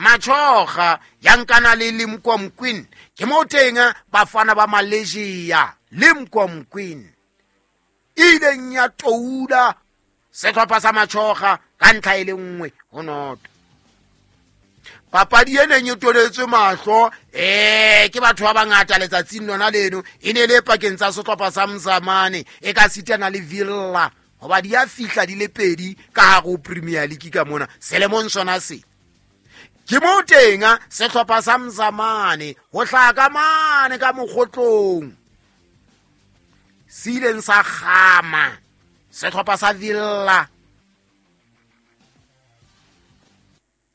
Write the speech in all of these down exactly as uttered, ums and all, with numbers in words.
Machoga ya nkana le Limkom Queen. Ke mo teng bafana ba Malaysia Limkom Queen ileng ya toula sehlopha sa Machoga ka ntlha e le nngwe ho noto. Papadi e neng e toletswe mahlo eh ke batho ba bangata letsatsing lona leno e ne le pakeng tsa sehlopha sa Mzamane e ka sitana le Villa hoba di a fihla di le pedi ka hare ho Premier League ka mona selemong sona se. Ke mo teng sehlopha sa Mzamane ho hlaka mane ka mokgotlong se ileng sa kgama sehlopha sa Villa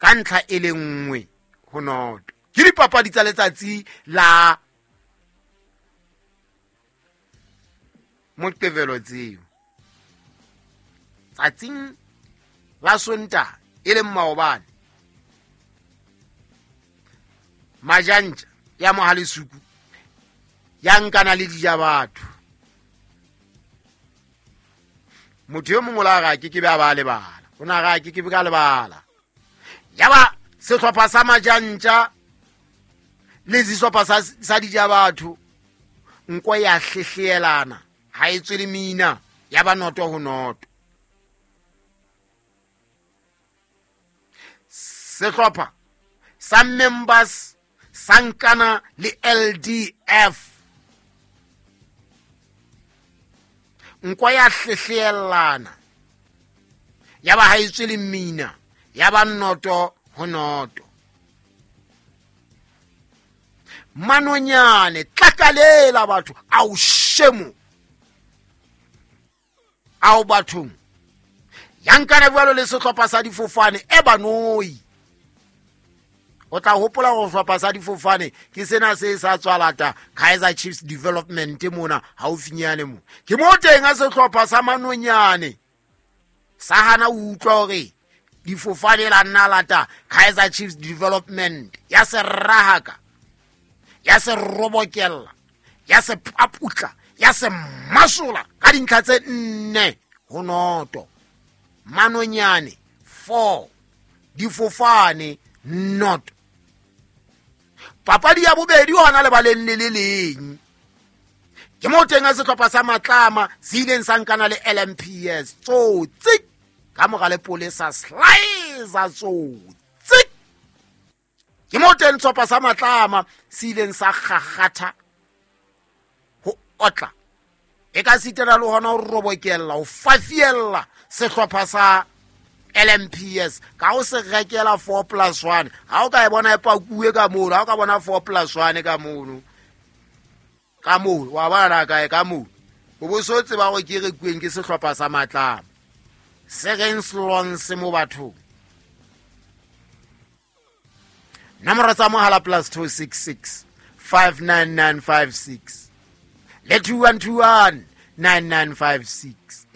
ka ntlha e le nngwe ho noto. Ke dipapadi tsa letsatsi la Moqebelo tseo. Tsatsing la Sontaha e leng maobane, Majantja ya Mohalesuku ya nkana le dija batho. Motho yo mongwe la ga ke ke be a ba lebala, o na ga ke ke be ka lebala. Ya ba sehlopha sa Majantja le sehlopha sa sa dija batho nko ya hlehlelana ha e tswe le mina ya ba noto ho noto. Sehlopha sa Members sankana le L D F nko ya hlehlelana ya ba ha e tswe le mina ya ba noto ho noto. Manonyane tlakalela batho ao shemo ao bathong yankana jwalo le sehlopha sa difofane e banoi. O tla hopola go sehlopha sa difofane ke sena se sa tswalata Kaizer Chiefs Development mona haufinyane mo. Ke mo teng a sehlopha sa Manonyane sa hana o utlwa hore difofane la nna lata Kaizer Chiefs Development ya se rahaka ya se robokella ya se paputla ya se masola ka dintlha tse nne ho noto. Manonyane four difofane not. Papadi ya bobedi hona lebaleng le le leng ke mo teng a sehlopha sa Matlama se ileng sa nkana le L M P S tsotsi ka mora le polesa slicer tsotsi. Ke mo teng sehlopha sa Matlama se ileng sa kgakgatha ho otla e ka sitela le hona ho robokella ho fafiella sehlopha sa L M P S ka o se rekela four plus one. Ha o ka e bona e pakuwe ka mono, ha o ka bona four plus one ka mono ka mono wa bona kae ka mono o bo so tseba hore ke rekuweng ke sehlopha sa Matlama se reng slons mo bathong. Nomoro tsa mohala plus two six six five nine nine five six le two one two one nine nine five six.